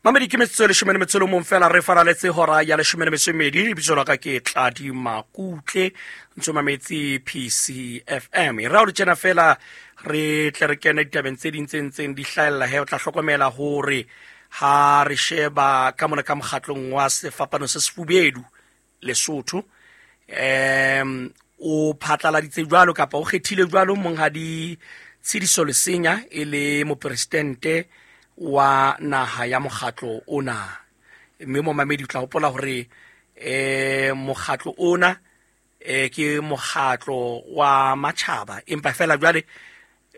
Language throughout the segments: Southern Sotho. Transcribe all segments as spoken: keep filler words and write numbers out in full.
Mamedi ke metsotso e leshome le metso e le mong fela re faraletse hora ya leshome le metso e mmedi. Lebitso la ka ke Tladi Makutle, ntso mametse P C F M. E ra o le tjena fela re tle re kene ditabeng tse ding tse ntseng di hlahella he. O tla hlokomela hore ha re sheba ka mona ka mokgatlong wa sefapano se sefubedu Lesotho, em o phatlaladitse jwalo kapa o kgethile jwalo monghadi Tshidiso Lesenya e le mopresidente wa naha ya mokgatlo ona. Mme momamedi o tla hopola hore eh mokgatlo ona eh ke mokgatlo wa matjhaba, empa fela jwale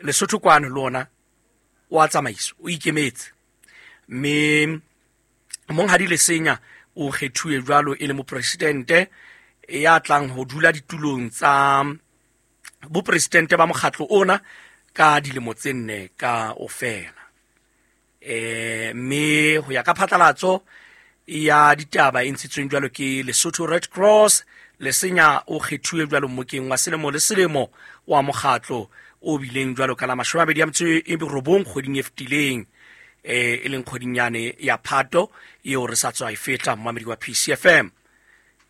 Lesotho kwano le ona wa tsamaiso o ikemetse. Mme monghadi Lesenya o kgethuwe jwalo e le mopresidente ya tlang ho dula ditulong tsa bopresidente ba mokgatlo ona ka dilemo tse nne ka ofela. Eh mme ho ya ka phatlalatso ya ditaba e ntshitsweng jwalo ke Lesotho Red Cross, Lesenya o kgethuwe jwalo mmokeng wa selemo le selemo wa mokgatlo o bileng jwalo ka la mashome a mabedi a metso e robong kgweding e fetileng, eh e leng kgweding yane ya Phato eo re sa tswa e feta, momamedi wa P C F M.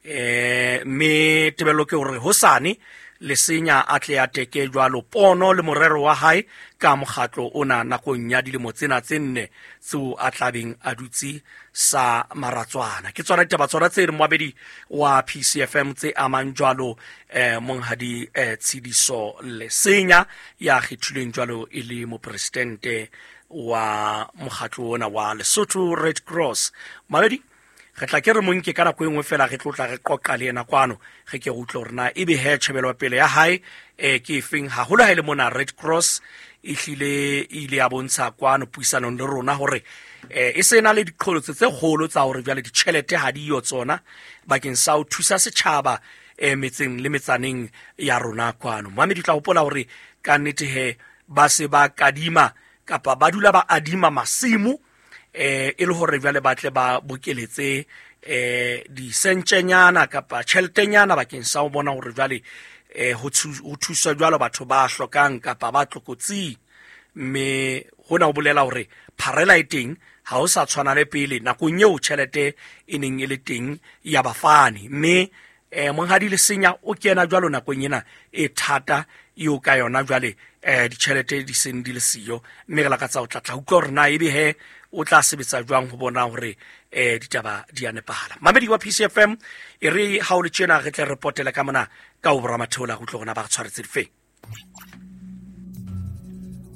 Eh mme tebello ke hore hosane Lesenya a tle a teke jwalo pono le morero wa hae ka mokgatlo ona nakong ya dilemo tsena tse nne tseo a tlabeng a dutse sa maratswana. Ke tsona ditaba tsona tse moabedi wa P C F M tse amang jwalo eh monghadi eh Tshidiso Lesenya ya kgethilweng jwalo e le mopresidente wa mokgatlo ona wa Lesotho Red Cross. Moabedi, re tla ke re mo nke ka nako e nngwe fela re tlo tla re qoqa le yena kwano, re ke re utlwe hore na ebe he tjhebelo pele ya hae eh ke efeng, haholo ha e le mona Red Cross e hlile e ile ya bontsha kwano puisanong le rona hore eh e se na le diqholotso tse kgolo tsa hore jwale ditjhelete ha di yo tsona bakeng sa ho thusa setjhaba eh metseng le metsaneng ya rona kwano. Momamedi, tla hopola hore ka nnete he ba se ba kadima kapa ba dula ba adima masimo eh e le hore jwale ba tle ba bokeletse eh disentjenyana kapa tjheletenyana bakeng sa ho bona hore jwale eh ho thusa jwalo batho ba hlokang kapa ba tlokotsing. Mme hona ho bolela hore pharela e teng, ha ho sa tshwana le pele nakong eo tjhelete e neng e le teng ya bafani. Mme eh monghadi Lesenya o kena jwalo nakong ena e thata eo ka yona jwale eh ditjhelete di seng di le siyo, mme re lakatsa ho tla tla utlwa hore na ebe he o tla sebetsa jwang ho bona hore eh ditaba di a nepahala. Mamedi wa P C F M, e re ha o le tjena re tle re potele ka mona ka ho boramatheola go utlwa rona ba re tshwaretse difeng.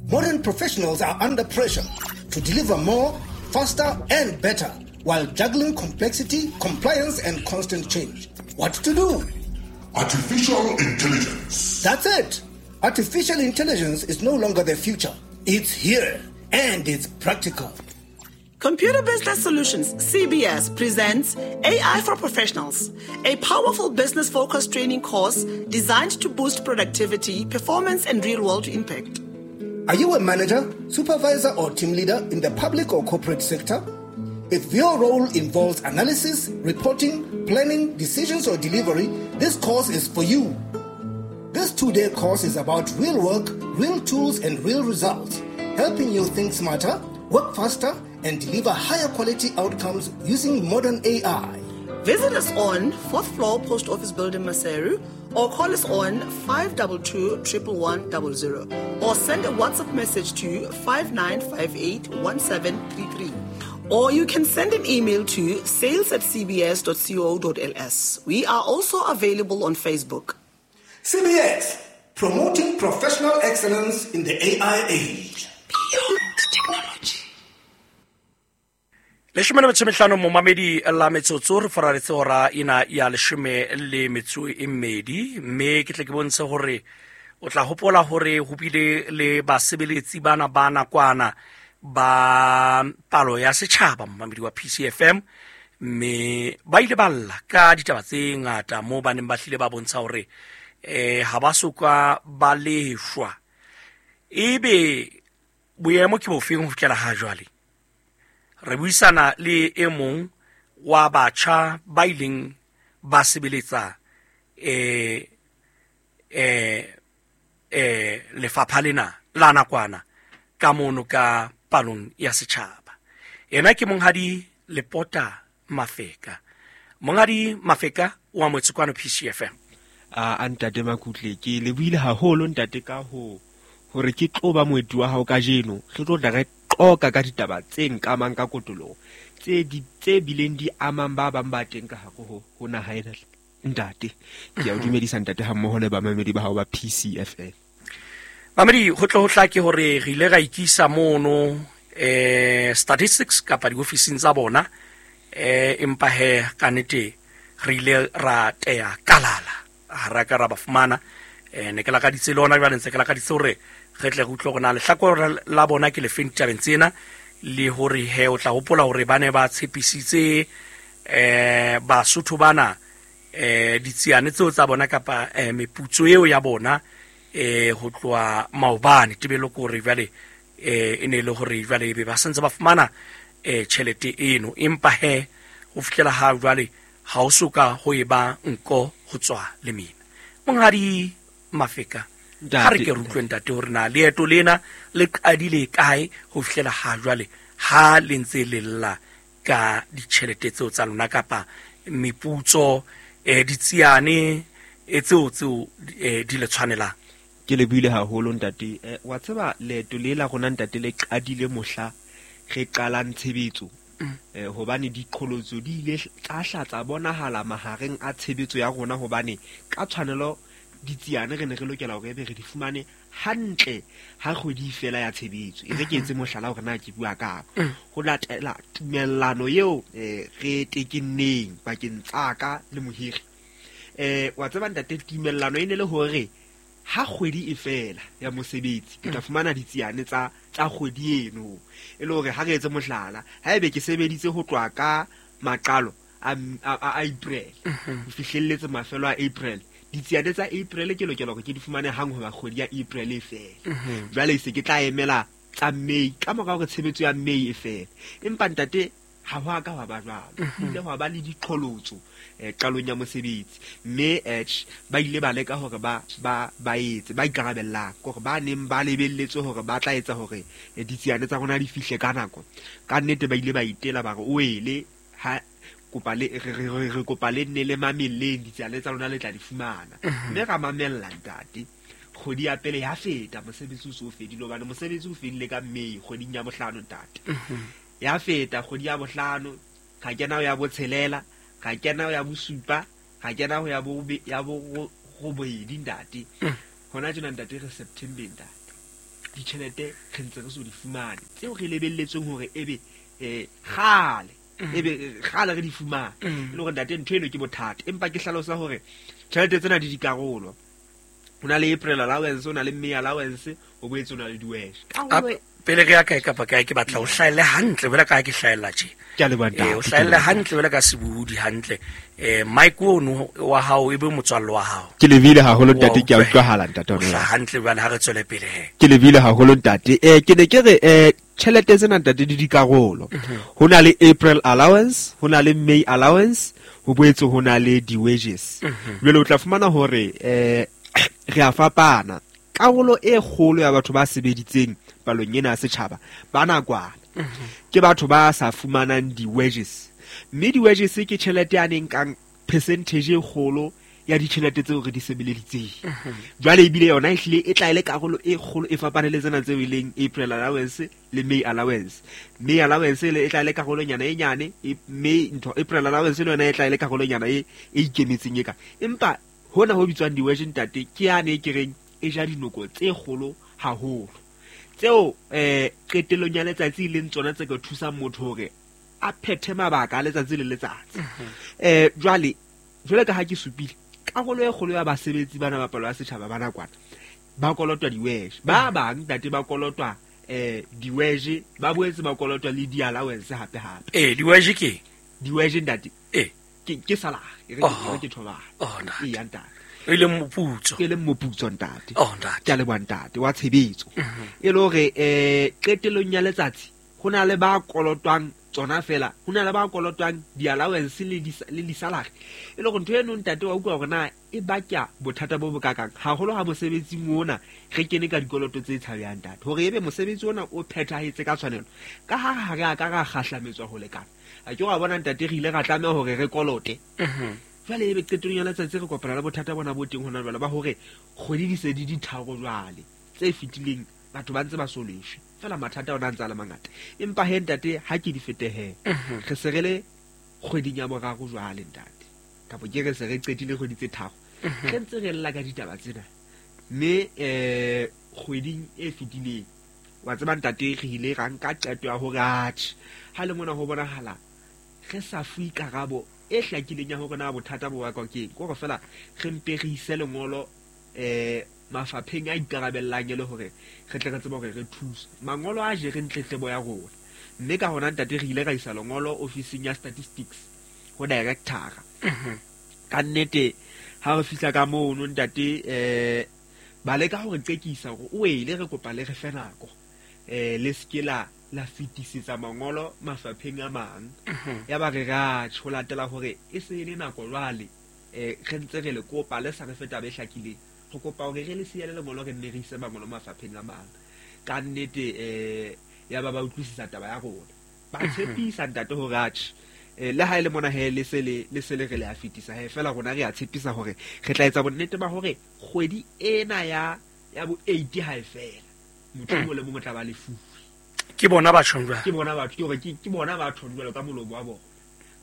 Modern professionals are under pressure to deliver more, faster and better while juggling complexity, compliance and constant change. What to do? Artificial intelligence. That's it. Artificial intelligence is no longer the future. It's here and it's practical. Computer Business Solutions, C B S, presents A I for Professionals, a powerful business-focused training course designed to boost productivity, performance, and real-world impact. Are you a manager, supervisor, or team leader in the public or corporate sector? If your role involves analysis, reporting, planning, decisions, or delivery, this course is for you. This two-day course is about real work, real tools, and real results, helping you think smarter, work faster, and deliver higher quality outcomes using modern A I. Visit us on fourth floor Post Office Building, Maseru, or call us on five two two, one one one zero zero, or send a WhatsApp message to five nine five eight, one seven three three. Or you can send an email to sales at c b s dot co dot l s. We are also available on Facebook. C B S, promoting professional excellence in the A I age. Beyond technology. Leshome le metso e mehlano momamedi la metsotso re faraletse hora ena ya leshome le metso e mmedi, mme ke tle ke bontshe hore o tla hopola hore ho bile le basebeletsi bana ba nakwana ba palo ya setjhaba momamedi wa P C F M, mme ba ile ba lla ka ditaba tse ngata moo ba neng ba hlile ba bontsha hore eh ha ba soka ba leshwa. Ebe boemo ke bofeng ho fihlela ha jwale? Re buisana le e mong wa batjha ba ileng ba sebeletsa eh eh eh lefapha lena la nakwana ka mono ka palong ya setjhaba. Yena ke monghadi Lepota Mafeka. Monghadi Mafeka o amohetse kwano P C F M. A ntate Makutle, ke lebohile haholo ntate ka ho hore ke tlo ba moeti wa hao kajeno. Re tlo tla re qoqa ka ditaba tse nkamang ka kotoloho, tse di tse bileng di amang ba bang ba teng ka hare ho ho naha ena. Ntate, ke a o dumedisa ntate ha mmoho le bamamedi ba hao ba P C F M. Mamedi, ho tlo ho hlake hore re ile ra ikisa mono eh statistics kapa diofising tsa bona, eh empa he ka nnete re ile ra teya kalala, ha ra ka ra ba fumana. Eh ne ke lakaditse le hona jwale, ntse ke lakaditse hore re tle re utlwe hore na lehlakore la bona ke lefeng ditabeng tsena, le hore he o tla hopola hore ba ne ba tshepisitse eh Basotho bana eh ditsiane tseo tsa bona kapa eh, meputso eo ya bona eh ho tloha maobane. Tebelo ke hore jwale eh e ne le hore jwale ebe ba santse ba fumana eh tjhelete eno, empa he ho fihlela ha jwale ha o soka ho eba nko ho tswa le mina. Monghadi Mafeka, ha re ke re utlwe ntate hore na leeto lena le qadile kae ho fihlela ha jwale ha le ntse le lla ka ditjhelete tseo tsa lona kapa meputso eh ditsiane e tseo tseo eh, di le tshwanelang. Ke lebohile haholo ntate. Eh, wa tseba leeto le la rona ntate le qadile mohla re qalang tshebetso. Mm. Eh, hobane diqholotso di ile tsa hla tsa bonahala mahareng a tshebetso ya rona, hobane ka tshwanelo ditsiane re ne re lokela hore ebe re di fumane hantle ha kgwedi fela ya tshebetso. E re ke etse mohlala hore na ke bua kang. Ho latela tumellano eo eh, re tekenneng pakeng tsa ka le mohiri. Eh, wa tseba ntate, tumellano e ne le hore ha kgwedi e fela ya mosebetsi ke tla fumana ditsiane tsa tsa kgwedi eno. E le hore ha re etse mohlala, ha ebe ke sebeditse ho tloha ka maqalo a a April ho fihlelletse mafelo a April, ditsiane tsa April ke lokela hore ke di fumane hang hoba kgwedi ya April e fela. Jwale se ke tla emela tsa May ka mora hore tshebetso ya May e fele. Empa ntate ha ho a ka hwa ba jwalo. Ho ile hwa ba le diqholotso eh, qalong ya mosebetsi, mme eh, ba ile ba leka hore ba ba ba etse ba ikarabellang hore ba neng ba lebelletse hore ba tla etsa hore eh, ditsiane tsa rona di fihle ka nako. Ka nnete ba ile ba itela ba re o ele ha kopa le re re re kopa le nne le mamelleng, ditsiane tsa lona le tla di fumana. Mme ra mamella ntate. Kgwedi ya pele ya feta, mosebetsi o so fedile, hobane mosebetsi o fedile ka May kgweding ya bohlano ntate. Ya feta kgwedi ya bohlano, ka kena ho ya botshelela, ka kena ho ya bosupa, ka kena ho ya bo ya bo robedi ntate. Hona tjena ntate re September ntate. Ditjhelete re ntse re so di fumane tseo re lebelletseng hore ebe eh kgale ebe kgale re di fumane. E le hore ntate ntho eno ke bothata, empa ke hlalosa hore tjhelete tsena di dikarolo. Ho na le April allowance, ho na le May allowance, ho boetse ho na le di-wash. Karolo pele re ya kae kapa kae, ke batla o hlahelle hantle jwale ka ha ke hlahella tje. Ke a leboha ntate. Eh, o hlahelle hantle jwale ka sebohodi hantle. Eh, Mike ono wa hao e be motswalle wa hao. Ke lebile haholo ntate, ke a utlwahala ntate. O hlaha hantle jwale, ha re tswele pele he. Ke lebile haholo ntate. Eh, ke ne ke re eh tjhelete tsena ntate di dikarolo. Ho na le April allowance, ho na le May allowance, ho boetse ho na le di-wages. Jwale o tla fumana hore eh re a fapana. Karolo e kgolo ya batho ba sebeditseng palong ena ya setjhaba ba nakwana ke batho ba sa fumanang di-wages, mme di-wages ke tjhelete ya neng kang percentage e kgolo ya ditjhelete tseo re di sebeleditseng. Jwale ebile yona ehlile e tla e le karolo e kgolo e fapane le tsena tseo e leng April allowance le May allowance. May allowance e tla e le karolonyana e nyane, May ntho April allowance le yona e tla e le karolonyana e e ikemetseng e ka. Empa hona ho bitswang di-wages ntate ke yane e ke reng e ja dinoko tse kgolo haholo, tseo eh qetellong ya letsatsi e leng tsona tse ka thusang motho hore a phethe mabaka a letsatsi le letsatsi. Eh jwale jwale ka ha ke supile, karolo e kgolo ya basebetsi bana ba palo ya setjhaba ba nakwana ba kolotwa di-wages. Ba bang ntate ba kolotwa eh di-wages, ba boetse ba kolotwa le di-allowance hape hape. Eh di-wages ke di-wages ntate eh ke ke salary, e re ke thobana. Oh ntate. E ya ntate. E leng moputso. E leng moputso ntate. Oh ntate. Ke a leboha ntate wa tshebetso. E le hore eh qetellong ya letsatsi ho na le ba kolotwang tsona fela ho na le ba kolotwang di-allowance le di-salary. E le hore ntho eno ntate wa utlwa hore na e baka bothata bo bokakang haholo ha mosebetsing ona re kene ka dikoloto tse tshabehang ntate, hore ebe mosebetsi ona o phethahetse ka tshwanelo ka ha ha re a ka ra kgahlametswa ho lekana. A ke wa bona ntate re ile ra tlameha hore re kolote. Jwale ebe qetellong ya letsatsi re kopana le bothata bona bo teng hona jwale ba hore kgwedi di se di di tharo jwale tse fetileng batho ba ntse ba so leshwe fela, mathata ona ntse a le mangata. Empa he ntate ha ke di fetehe re se re le kgweding ya boraro jwale ntate, kapa ke re se re qetile kgwedi tse tharo re ntse re lla ka ditaba tsena. Mme eh kgweding e fetileng wa tseba ntate re ile ra nka qeto ya hore atjhe ha le mona ho bonahala re sa fuwe karabo e hlakileng ya hore na bothata bo bakwa ke eng, ke hore fela re mpe re ise lengolo eh mafapheng a ikarabellang e le hore re tle re tsebe hore re thuse. Mangolo a jereng tletlebo ya rona, mme ka hona ntate re ile ra isa lengolo ofising ya statistics ho director. Ka nnete ha re fihla ka mono ntate eh ba leka hore qekisa hore o ele re kopa le re fe nako eh le se ke la la fetisetsa mangolo mafapheng a mang. Ya ba re ra ho latela hore e se le nako jwale eh re ntse re le kopa le sa re fe taba e hlakileng, re kopa hore re le siele lengolo re nne re ise mangolo mafapheng a mang. Ka nnete eh ya ba ba utlwisisa taba ya rona, ba tshepisa ntate hore atjhe le ha ile mona he le se le le se le re le a fetisa he fela rona re a tshepisa hore re tla etsa bonnete ba hore kgwedi ena ya ya bo eight ha e fela motho o le mongwe tla ba lefuwe. Ke bona batho jwale, ke bona batho ke hore ke ke bona batho jwalo ka molomo wa bona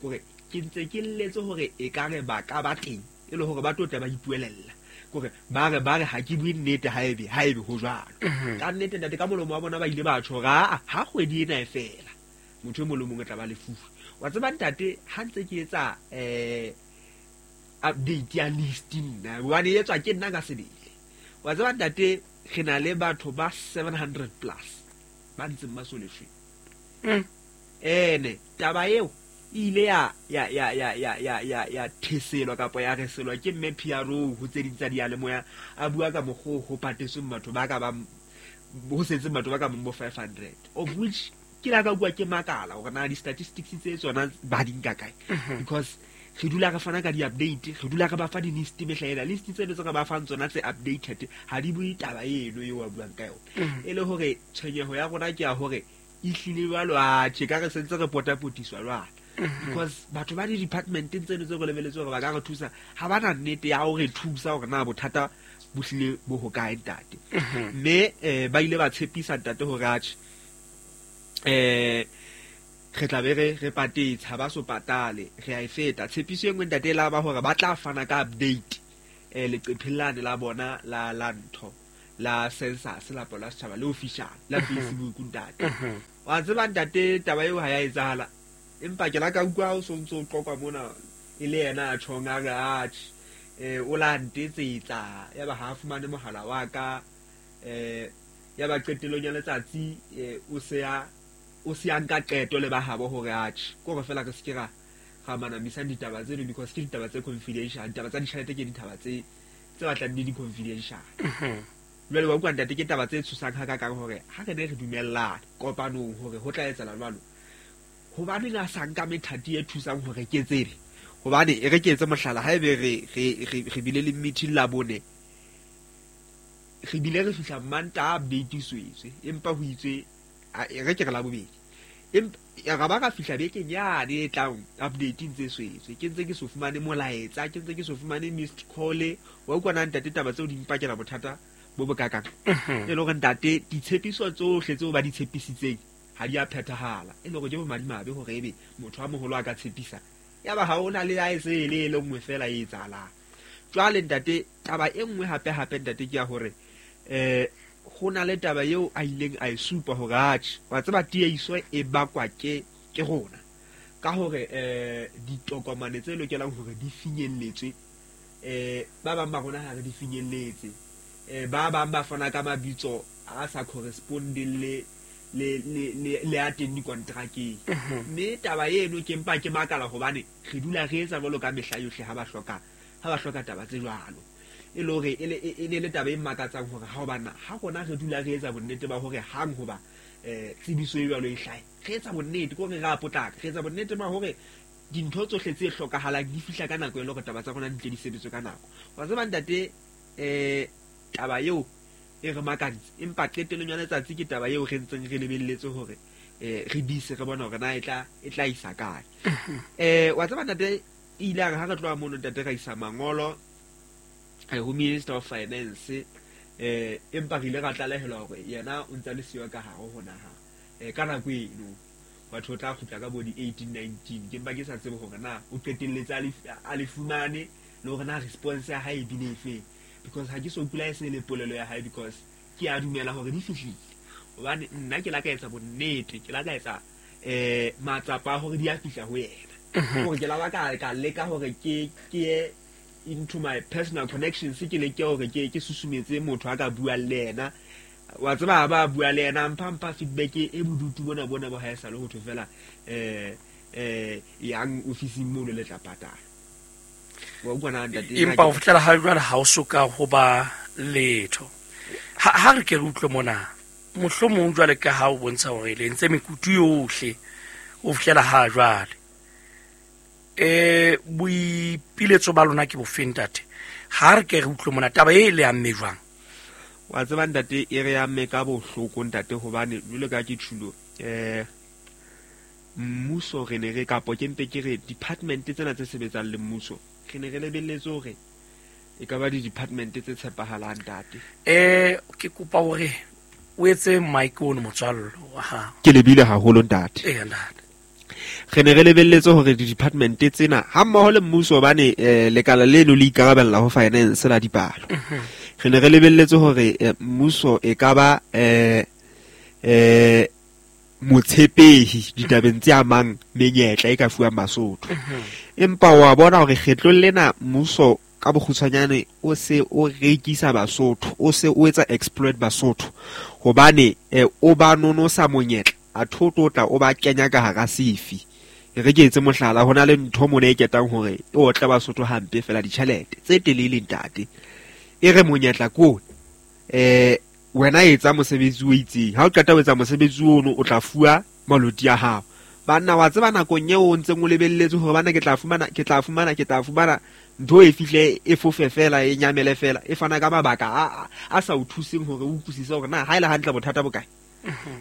hore ke ntse ke lleetse hore e ka re ba ka ba teng e le hore ba tlo tla ba ipuelella hore ba re ba re ha ke bue nnete ha ebe ha ebe ho jwalo. Ka nnete ntate ka molomo wa bona ba ile ba tjho ra ha kgwedi ena e fela motho e mong le mong o tla ba lefuwe. Wa tseba ntate ha ntse ke etsa eh update ya list nna hobane e etswa ke nna ka sebele. Wa tseba ntate re na le batho ba seven hundred plus ba ntseng ba so leshwe. Ene taba eo e ile ya ya ya ya ya ya ya ya theselwa kapa ya reselwa ke mme P R O ho tse ding tsa diyalemoya a bua ka mokgo ho patetsweng batho ba ka ba ho setseng batho ba ka bo five hundred of which ke la ka bua ke makala hore na di-statistics tse tsona ba di nka kae, because re dula re fana ka di-update, re dula re ba fa di-list mehla ena list tseno tse re ba fang tsona tse updated ha di bue taba eno eo a buang ka yona. E le hore tshwenyeho ya rona ke ya hore e hlile jwalo atjhe ka re sentse re potapotiswa jwalo, because batho ba di-departmenteng tseno tse re lebeletse hore ba ka re thusa ha ba na nnete ya hore thusa hore na bothata bo hlile bo hokae ntate. Mme eh ba ile ba tshepisa ntate hore atjhe eh re tla be re re patetse ha ba so patale re a e feta. Tshepiso e nngwe ntate la ba hore ba tla fana ka update eh leqepheng lane la bona la la ntho la census la palo ya setjhaba le official la Facebook ntate. Wa tseba ntate taba eo ha ya etsahala, empa ke la ka utlwa o so ntso o qoqa mona e le yena a tjhong a re atjhe eh o la ntetsetsa ya ba ha fumane mohala wa ka eh ya ba qetellong ya letsatsi o se ya o se ya nka qeto le ba habo hore atjhe ke hore fela re se ke ra ra manamisa ditaba tseno because ke ditaba tse confidential, ditaba tsa ditjhelete ke ditaba tse tse batlang di di confidential. Jwale wa utlwa ntate ke taba tse tshosang ha kakang hore ha re ne re dumellana kopanong hore ho tla etsahala jwalo, hobaneng a sa nka methati e thusang hore ke tsebe hobane e re ke etse mohlala ha ebe re re re bile le meeting la bone re bile re fihla Mantaha update iswetswe empa ho itswe re ke re la bobedi empa ra ba ka fihla bekeng yane e tlang update ntse swetswe ke ntse ke so fumane molaetsa ke ntse ke so fumane missed call. Wa utlwa na ntate taba tseo di mpakela bothata bo bokakang e le hore ntate ditshepiso tsohle tseo ba di tshepisitseng ha di a phethahala, e le hore ke bomadimabe hore ebe motho a moholo a ka tshepisa ya ba ha ona le a e se le le nngwe fela e etsahalang. Jwale ntate taba e nngwe hape hape ntate ke ya hore eh ho na le taba eo a ileng a e supa hore atjhe wa tseba tiehiso e bakwa ke ke rona ka hore eh ditokomane tse lokelang hore di finyelletswe eh ba bang ba rona ha re di finyelletse eh ba bang ba fana ka mabitso a sa correspondeng le le le le a teng dikontrakeng. Mme taba eno ke mpa ke makala hobane re dula re etsa jwalo ka mehla yohle ha ba hloka ha ba hloka taba tse jwalo e le hore e le e le taba e makatsang hore ha hobana ha rona re dula re etsa bonnete ba hore hang hoba eh tsebiso e jwalo e hlahe, re etsa bonnete ko re ra potlaka, re etsa bonnete ba hore dintho tsohle tse hlokahalang di fihla ka nako e le hore taba tsa rona di tle di sebetswe ka nako. Wa tseba ntate, eh taba eo e re makantse, empa qetellong ya letsatsi ke taba eo re ntseng re lebelletse hore eh re dise re bona hore na e tla e tla isa kae. Eh wa tseba ntate, e ile a re ha re tloha mono ntate ra isa mangolo eh ho Minister of Finance, eh empa re ile ra tlalehelwa hore yena o ntse a le siyo ka hare ho naha eh ka nako eno. Batho tla kgutla ka bo di eighteen nineteen, ke mpa ke sa tsebe hore na o qetelletse a le fumane le hore na response ya hae e bile efeng, because ha ke so kula e se le polelo ya hae, because ke a dumela hore di fihlile. Hobane nna ke la ka etsa bonnete, ke la ka etsa eh matsapa a hore di a fihla ho yena, hore ke la ba ka ka leka hore ke ke into my personal connections, ke leke hore ke ke susumetse motho a ka buang le yena. Wa tseba ba bua le yena, mpha mpha feedback e bodutu bona bona bo ha e sa le ho thwe fela eh eh yang ofising mono le tla patala. Wa utlwa na ntate? Empa ho fihlela ha jwale ha o soka ho ba letho. Ha ha re ke re utlwe mona, mohlomong jwale ka ha o bontsha hore le ntse mekutu yohle ho fihlela ha jwale, eh boipiletso ba lona ke bofeng ntate? Ha re ke re utlwe mona taba e le amme jwang? Wa tseba ntate, e re amme ka bohloko ntate, hobane jwalo ka ke tjhulo eh mmuso re ne re kapo ke mpe ke re department tsena tse sebetsang le mmuso re ne re lebelletse hore e ka ba di department tse tshepahalang ntate. Eh ke kopa hore o etse mic ono motswallo wa hao. Ke lebile haholo ntate. Eh ntate. Re ne re lebelletse hore di department tsena ha mmoho le mmuso, hobane lekala leno le ikarabella ho finance la dipalo. Re ne re lebelletse hore mmuso e ka ba eh eh motshepehi ditabeng tse amang menyetla e ka fuwang Basotho. Empa wa bona hore kgetlong lena mmuso ka bokgutshwanyane o se o rekisa Basotho, o se o etsa exploit Basotho, hobane o ba nonosa monyetla a thoto tla o ba kenya ka hara sefi. Re ke etse mohlala, hona le ntho mona e ketang hore e otle Basotho hampe fela ditjhelete tse telele ntate. E re monyetla ko eh wena etsa mosebetsi o itseng, ha o qeta ho etsa mosebetsi ono o tla fuwa maloti a hao. Banna wa tseba nakong eo o ntseng o lebelletse hore bana ke tla fumana ke tla fumana ke tla fumana ntho e fihle e fofe fela e nyamele fela e fana ka mabaka a a sa o thuseng hore o utlwisise hore na ha ile hantle bothata bo kae.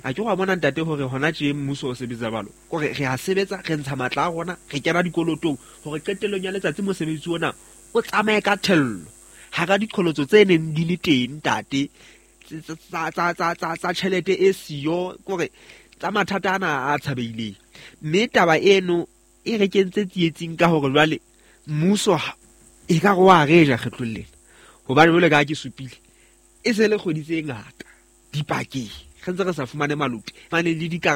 A ke wa bona ntate hore hona tje mmuso o sebetsa balo kore re a sebetsa, re ntsha matla a rona, re kena dikolotong hore qetellong ya letsatsi mosebetsi ona o tsamaye ka thello hara diqholotso tse neng di le teng ntate, tsa tsa tsa tsa tsa tjhelete e siyo kore tsa mathata ana a tshabeileng. Mme taba eno e re kentse tsietsing ka hore jwale mmuso e ka re wa re ja kgetlong lena, hobane jwale ka ke supile e se le kgwedi tse ngata dipakeng re ntse re sa fumane maloti mane le dikarabo.